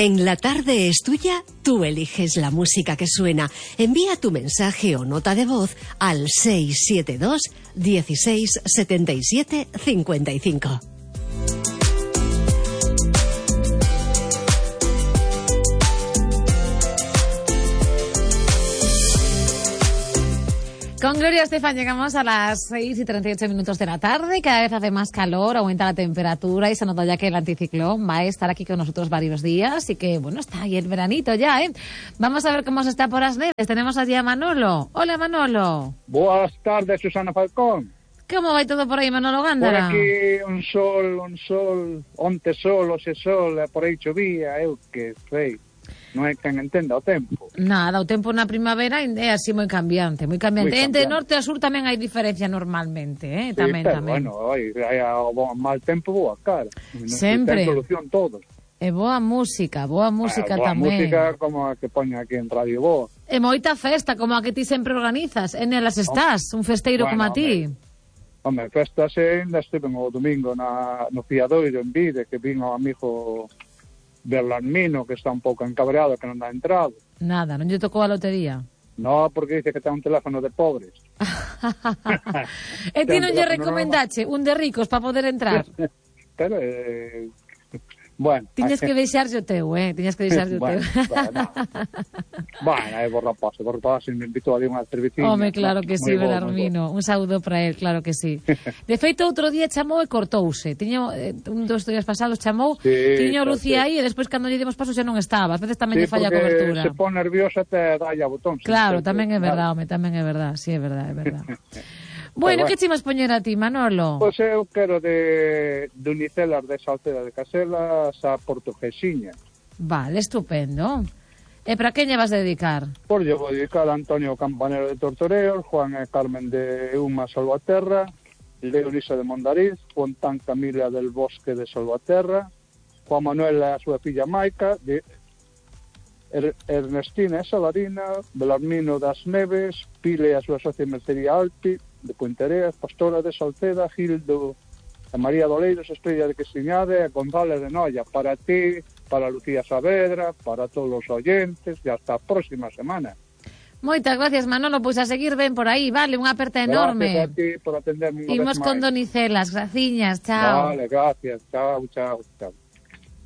En La Tarde es Tuya, tú eliges la música que suena. Envía tu mensaje o nota de voz al 672 16 77 55. Con Gloria Estefan llegamos a las 6:38 de la tarde. Cada vez hace más calor, aumenta la temperatura y se nota ya que el anticiclón va a estar aquí con nosotros varios días y que, bueno, está ahí el veranito ya, ¿eh? Vamos a ver cómo se está por las neves. Tenemos allí a Manolo. Hola, Manolo. Buenas tardes, Susana Falcón. ¿Cómo va todo por ahí, Manolo Gándara? Por aquí un sol, onte sol, hoxe sol, por aí chovía, eu que sei. Non é quen entenda o tempo. Nada, o tempo na primavera é así moi cambiante, moi cambiante. Entre norte a sur tamén hai diferencia normalmente, Sí, tamén. Bueno, hai o mal tempo, boa cara. Sempre. Ten solución todo. E boa música boa tamén. Música como a que poña aquí en Radio Boa. E moita festa, como a que ti sempre organizas. En elas estás, un festeiro como a ti. Home, festas ainda estiven o domingo no Fiadoiro en Vide, que vin ao amigo Belarmino, que está un pouco encabreado, que non dá entrado. Nada, non lle tocou a lotería. No, porque dice que ten un teléfono de pobres. E ti non lle recomendache un de ricos para poder entrar? Pero, bueno. Tiñes que deixarse o teu, Tiñes que deixarse o teu. Bueno, por rapaz, me invitou a unha cerveciña. Home, claro que sí, Belarmino. Un saúdo para él, claro que sí. De feito, outro día chamou e cortouse. Tiña un dos días pasados chamou, tiña Lucía aí e despois cando lle demos paso xa non estaba. A veces tamén lle falla a cobertura. Se pon nerviosa te dalle a botón. Claro, tamén é verdade, tamén é verdade. Sí, é verdade, é verdade. Bueno, que chimas poñer a ti, Manolo? Pois eu quero de Unicelas de Salceda de Caselas a Portuguesiña. Vale, estupendo. E para quen lle vas dedicar? Pois lle vou dedicar a Antonio Campanero de Tortoreos, Juan e Carmen de Uma Salvaterra, Leonisa de Mondariz, Fontán Camila del Bosque de Salvaterra, Juan Manuel e a súa filla Maica, de Ernestina e Salarina, Belarmino das Neves, Pile e a súa socia Mercería Alpi, de Puentereas, Pastora de Salceda, Gildo e María Doleiros, Estrella de Questiñade e González de Noia. Para ti, para Lucía Saavedra, para todos os oyentes e hasta a próxima semana. Moitas gracias, Manolo, pois a seguir ben por aí, vale, unha aperta enorme. Gracias a ti por atenderme. Imos con Donicelas, graciñas, chao. Vale, gracias, chao.